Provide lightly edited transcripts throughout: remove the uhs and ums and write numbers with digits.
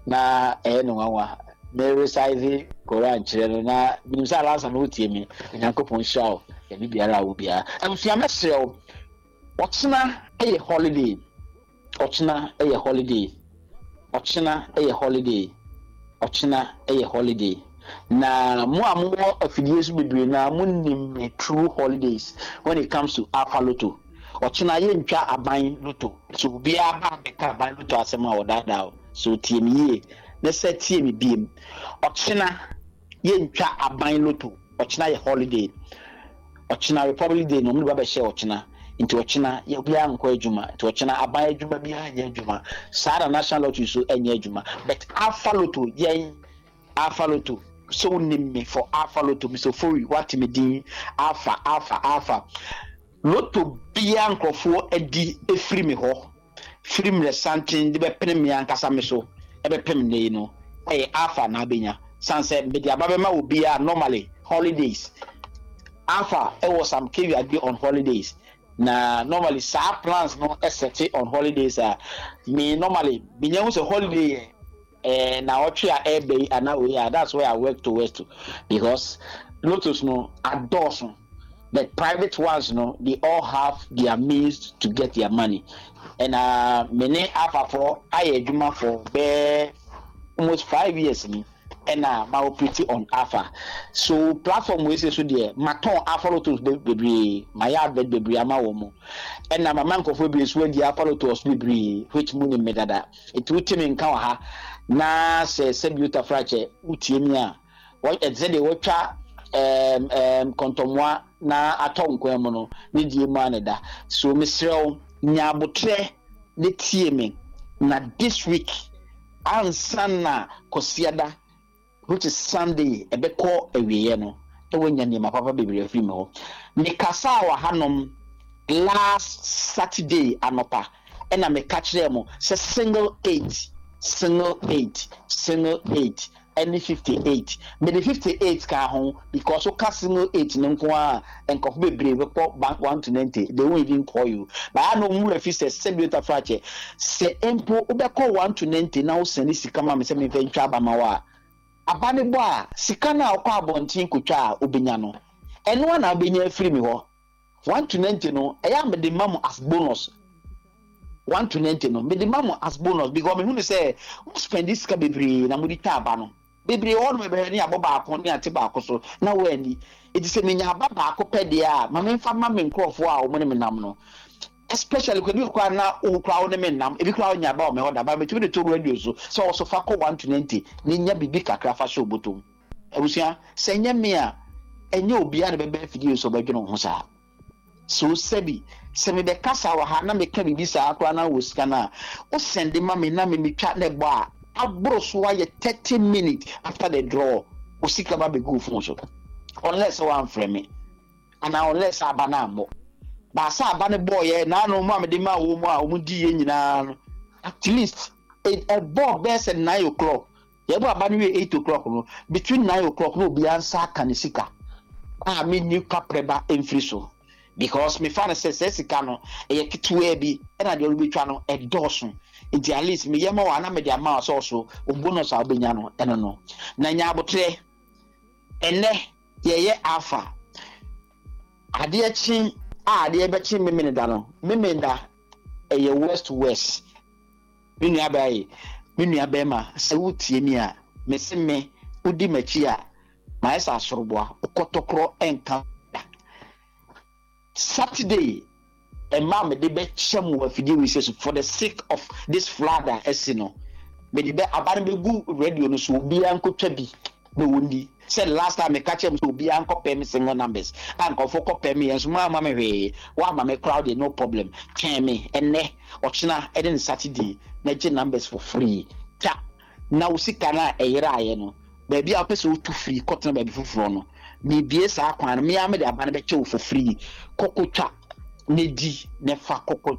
Na ɛyɛ no nwanwa. Me recite Koran kyerɛ no na menim sɛ Alasa no wotie me. Onyankopɔn nhyira wo baabi biara a wɔ biara. Abusua, mɛsrɛ wo, ɔkyena yɛ holiday. Ɔkyena yɛ holiday. Ɔkyena yɛ holiday. Ɔkyena yɛ holiday. Na mo a mowɔ afidie so bebree na monim me true holidays when it comes to Alpha Lotto. Ɔkyena yɛntwa aban lotto. So obiara ba abɛka aban lotto asɛm a, ɔdaadaa o. So tie me yie na sɛ tie me biem. Ɔkyena yɛntwa aban lotto. Ɔkyena yɛ holiday. Ɔkyena Republic Day na ɔmo de ba bɛhyɛ ɔkyena. Nti ɔkyena yɛ obiara nkɔ adwuma. Nti ɔkyena aban adwuma biara nyɛ adwuma. Saa na National Lottery so nyɛ adwuma. But Alpha Lotto, yɛn Alpha Lotto, so wonim me for Alpha Lotto, Mr. Ofori, wate me din Alpha, Alpha, Alpha. Lotto bia nkurɔfoɔ adi efiri me hɔ firi mmerɛ santen de bɛpene me ankasa me so ɛbɛpem nne yi no, ɛyɛ Alpha na abɛnya san sɛ mede aba bɛma obiara. Normally holidays, Alpha ɛwɔ some caveat bi on holidays, na normally saa plans no ɛsɛte on holidays a me normally menya hu sɛ holiday yɛ na ɔtwe a ɛɛbɛ yi anaa wei a, that's where I work towards to, because lottos no adɔɔso. The private ones no, they all have their means to get their money, ɛna me ne Alphafoɔ ayɛ adwuma for bɛɛ almost 5 years ni, ɛna ma operate on Alpha so platform wei sɛ so deɛ, matɔn Alpha Lottos bebree, mayɛ advert bebree ama wɔn mo, ɛna mama nkurɔfoɔ bebree so adi Alpha Lottos bebree, which mu nim me dada. Nti wote me nka wɔ ha na sɛ sɛbi wotafrakyɛ wotie mi a, ɛte sɛ deɛ wɔtwa ɛɛm ɛɛm kɔntɔmmoa na atɔ nkwan mu no ne die mu a ne da so. Mesrɛ wo, nya abotrɛ ne tie me na this week ansa na Kɔsiada, which is Sunday, ɛbɛkɔ awieɛ no, na woanya nneɛma papa bebree afiri me hɔ. Mekasa wɔ hanom last Saturday anɔpa, ɛna meka kyerɛɛ mo sɛ single eight, single eight, single eight ɛne 58. Mede 58 ka ho because woka single eight no nko a, nkɔfo bebree bɛkɔ bank 1 to 90, they won't even call you. Baa na ɔmu afi sɛ sɛbi otafra kyɛ sɛ mpo wobɛkɔ 1 to 90 na wosɛne sika ma me sɛ memfa ntwa aba ma wo a, aba ne bɔ a, sika no a wokɔ abɔnten kotwa a wobɛnya no, ɛno a na wobɛnya afiri mi hɔ. 1 to 90 no, ɛyɛ a mede ma mo as bonus. 1 to 90 no, mede ma mo as bonus because mehu ne sɛ mo spend sika bebree na mode twa aba no bebree hɔ nom, ɛbɛhwɛ ne abɔ baako ne ate baako so na wɔani. Eti sɛ menya aba baako pɛ deɛ a, ma memfa ma me nkurɔfoɔ a wɔn ne me nam no, especially kɔ ebi koraa na wo koraa wo ne me nam, ebi koraa wonya aba wɔ me hɔ da ba, metumi de to radio so sɛ ɔso fa kɔ 1 to 90 ne nya biribi kakra fa hyɛ obotom. Abusua, sɛ nyɛ me a, ɛnyɛ obiara na bɛbɛ afidie so ɔbɛdwene wo ho saa. So sɛbi sɛ mebɛkasa wɔ ha na meka biribi saa koraa na wɔ sika no a wosɛnde ma me na memetwa na ɛbɔ a, aboro so ayɛ 30 minutes after the draw, wo sika ba bɛgu wo phone so, unless sɛ woamfrɛ me anaa unless sɛ aba no ammɔ baasa. Aba no bɔɔyɛ naano mu a mede maa wɔ mu a wɔn di yɛ nyinaa no, at least ɛbɔɔ bɛɛ sɛ 9 o'clock. Yɛbɔ aba no wie 8 o'clock no, between 9 o'clock na obiara nsa aka ne sika a menni kaprɛba mfiri so, because mefa no sɛ sɛ sika no ɛyɛ ketewaa bi, ɛna deɛ ɔrebɛtwa no ɛdɔɔso. Nti at least meyɛ ma wɔ ana mede ama wɔ sɛ ɔso o bonus a wobɛnya no ɛno no. Na nya abotrɛ, ɛnɛ yɛyɛ Alpha, adeɛ kye a, adeɛ bɛkye memene da no, memene da ɛyɛ west to west. Me nua baa yi, me nua bɛrima, sɛ wotie mi a, mese me wodi m'akyi a, mayɛ sɛ asoroboa wokɔtɔkorɔ ɛnka da. Saturday mmaa mede bɛkyɛ mu wɔ afidie wei sɛ so for the sake of this flood a ɛsi no, mede bɛ aba no bɛgu radio no so, obiara nkotwa bi na wɔndi. Sɛ last time meka kyerɛ m sɛ obiara nkɔpɛ me single numbers a, nkɔfo kɔpɛ me yɛn nso mo ama me hwee, woama me crowd, no problem. Twɛn me ɛnɛ, ɔkyena ɛne ne Saturday na gye numbers for free ta, na wo sika no a ɛyeraeɛ no, baabi a wopɛ sɛ wotu firi kɔtena baabi foforɔ no, mebie saa kwan no. Mea mede aba no bɛkyɛ wo for free, kɔkɔtwa na di na fa kɔkɔ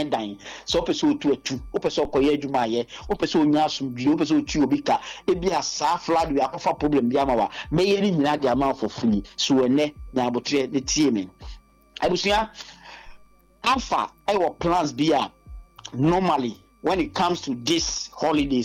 dan. Sɛ wopɛ sɛ wotu atu, wopɛ sɛ ɔkɔyɛ adwuma ayɛ, wopɛ sɛ onya asomdwie, wopɛ sɛ otu obi ka, ebi a saa flood wi akɔfa problem bi ama wa, mɛyɛ ne nyinaa de ama for free. So ɛnɛ nya abotrɛ ne tie me. Abusua, Alpha ɛwɔ plans bi a normally when it comes to this holidays.